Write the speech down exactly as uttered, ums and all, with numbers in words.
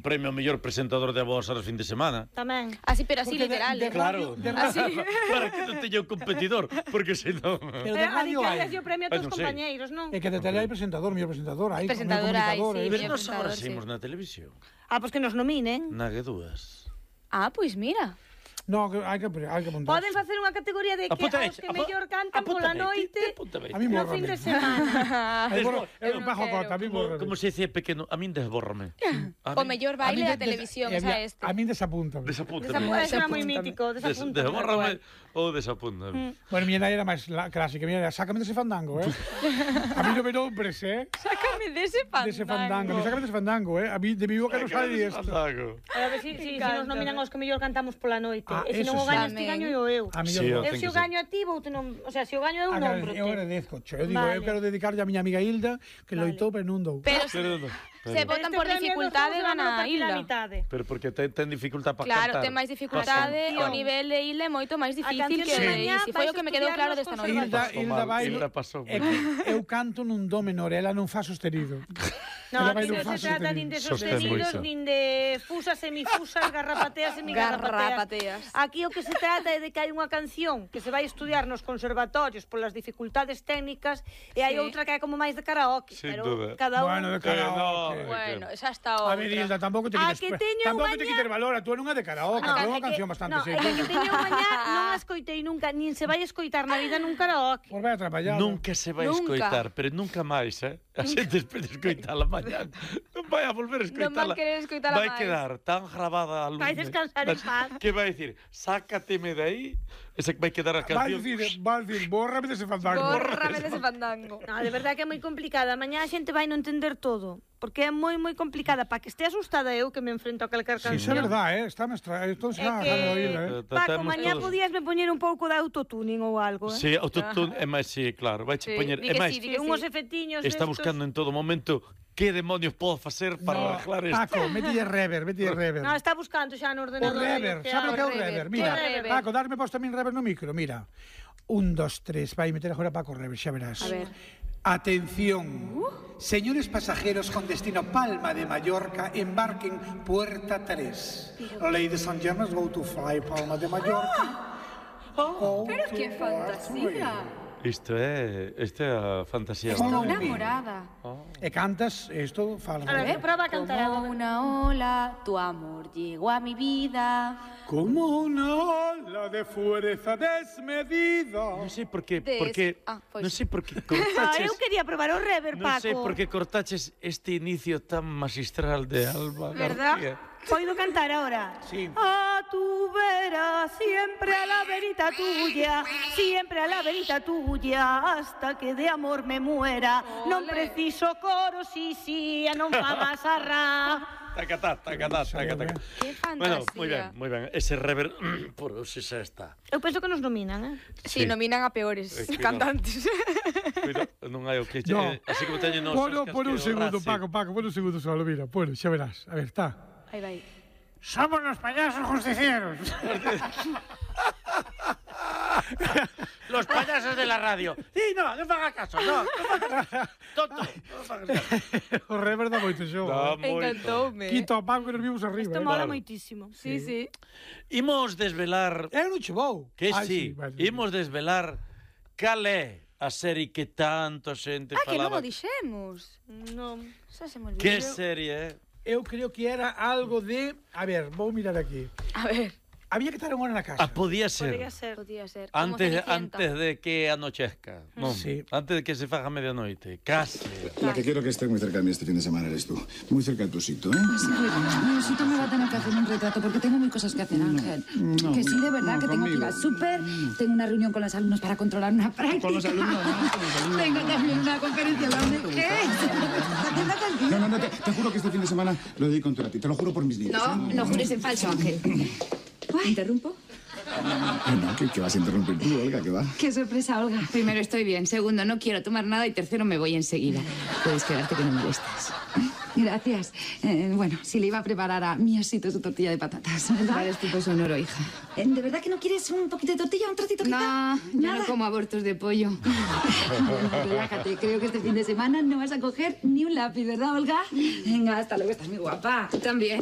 premio ao mellor presentador de voz aos fin de semana. Tamén. Así, pero así literal. Claro. Para que non teña un competidor, porque se non... Pero de radio hai. Pero o premio a todos os compañeiros, non? É que de tele hai presentador, mellor presentador, hai presentador, hai, sí. Pero nos agora saímos na televisión. Ah, pois que nos nominen. Na que dúas. Ah, pois mira. No, hai que hai que apuntar. Poden facer unha categoría de que os que mellor cantan pola noite no fin de semana. Eu bajo cota, a mí borra. Como se dice pequeno, a min desbórrame. O mellor baile da televisión, esa este. A min desapúntame. Desapúntame. Eso era moi mítico, desapúntame. Desbórrame ou desapúntame. Bueno, mi nai era máis clásica, mi nai, sácame dese fandango, eh? A mí non me nombres, eh? Sácame dese fandango. Dese fandango, sácame dese fandango, eh? A mí de mi boca non sale isto. A ver, si nos nominan aos que mellor cantamos pola noite. E se non o gaño este gaño eu. Eu se o gaño a ti, vou non, o sea, se o gaño eu non brote. Eu agradezco, cho. Eu digo, eu quero dedicarlle a miña amiga Hilda, que loitou pero non dou. Pero se votan por dificultade gana a Hilda. Pero porque ten dificultad para cantar. Claro, ten máis dificultade, o nivel de Hilda é moito máis difícil que de foi o que me quedou claro desta noite. Hilda, Hilda vai. Eu canto nun do menor, ela non fa sostenido. Non, aquí non se trata nin de sostenidos, nin de fusas, semifusas, garrapateas, semigarrapateas. Aquí o que se trata é de que hai unha canción que se vai estudiar nos conservatorios polas dificultades técnicas e hai outra que é como máis de karaoke. Pero cada un... Bueno, de karaoke. Bueno, esa está outra. A ver, Hilda, tampouco te quites... Tampouco te quites valor, a tú non é de karaoke, é unha canción bastante seria. Non, é que teño mañá, non a escoitei nunca, nin se vai escoitar na vida nun karaoke. Pois vai atrapallado. Nunca se vai escoitar, pero nunca máis, eh? A xente espera escoitala mañá. Non vai a volver a escoitala. Non vai querer escoitala máis. Vai quedar tan grabada a luz. Vai descansar en paz. Que vai dicir, sácateme de aí, esa que vai quedar a canción. Vai dicir, vai dicir, bórrame dese fandango. Bórrame dese fandango. No, de verdade que é moi complicada. Mañá a xente vai non entender todo. Porque é moi, moi complicada. Para que este asustada eu que me enfrento a calquer canción. Sí, é verdade, eh? Está mestra... Entón se va a oír, eh? Paco, mañá podías me poñer un pouco de autotuning ou algo, eh? Sí, autotune é máis, sí, claro. Vai che poñer... É máis, unhos efetiños está buscando en todo momento que demonios podo facer para arreglar isto. Paco, metille rever, metille rever. Non, está buscando xa no ordenador. O rever, sabe o que é o rever? Mira, Paco, darme posto tamén rever no micro, mira. Un, dos, tres, vai meter agora Paco rever, xa verás. A ver. Atención, uh. señores pasajeros con destino Palma de Mallorca, embarquen puerta tres. Ladies and gentlemen, go to fly Palma de Mallorca. Oh, pero que fantasía. Isto é, isto é a fantasía. Estou enamorada. Oh. E cantas, isto fala. A ver, prova a cantar. Como una ola, tu amor llegó a mi vida. Como una ola de fuerza desmedida. Non sei por que, Des... porque ah, pues. non sei por que cortaches. Ah, eu quería probar o rever, Paco. Non sei por que cortaches este inicio tan magistral de Alba García. ¿Puedo cantar ahora? Sí. A tu vera, siempre a la verita tuya, siempre a la verita tuya, hasta que de amor me muera. Ole. Non preciso coro, si, si, non fa más arra. Tacatá, tacatá, tacatá. Que fantasía. Bueno, moi ben, moi ben. Ese rever, por si xa está. Eu penso que nos nominan, eh? Sí, sí, nominan a peores eh, cantantes. Cuida, non hai o que... No. Eh, así como teñen nos... Bueno, por un segundo, Paco, Paco, por un segundo solo, mira. Bueno, xa verás. A ver, está. Ahí vai. Somos los payasos justicieros. Los payasos de la radio. Sí, no, non faga caso, no, non faga caso. Tonto, non faga caso. O rever da moito xogo. Encantoume. Quito a Paco que nos vimos arriba. Isto eh? mola Claro. moitísimo. Sí, sí. Imos desvelar... É un chubou. Que Ay, sí, sí vale. imos desvelar cal é a serie que tanto xente Ah, que non falaba. o dixemos. Non. Xa se me olvidou. Que serie é? Eu creo que era algo de... A ver, vou mirar aquí. A ver. Había que estar unha hora na casa. Ah, podía ser. Podría ser. Podía ser. Como Antes, Cenicienta. antes de que anochezca, non? Sí. Antes de que se faga medianoite, case. La que quiero que esté muy cerca de mí este fin de semana eres tú. Muy cerca de tu sitio, ¿eh? Pues sí, mi osito me va a tener que hacer un retrato porque tengo mil cosas que hacer, Ángel. no, que sí, de verdad, no, que tengo que ir conmigo. al súper, tengo una reunión con los alumnos para controlar una práctica. Con los alumnos, no, con los alumnos. Tengo también una conferencia de la O N G. Atienda contigo. No, no, no, te, te juro que este fin de semana lo dedico entero a ti. Te lo juro por mis niños. No, no jures en falso, Ángel. ¿Interrumpo? No, no, ¿qué, qué vas a interrumpir tú, Olga? ¿Qué va? Qué sorpresa, Olga. Primero, estoy bien. Segundo, no quiero tomar nada. Y tercero, me voy enseguida. Puedes quedarte que no molestas. Gracias. Eh, bueno, si le iba a preparar a mi osito su tortilla de patatas, ¿verdad? Vale, tipo sonoro, hija. Eh, ¿De verdad que no quieres un poquito de tortilla, un trocito quizá? No, yo no como abortos de pollo. Relájate, creo que este fin de semana no vas a coger ni un lápiz, ¿verdad, Olga? Venga, hasta luego, estás muy guapa. Tú también.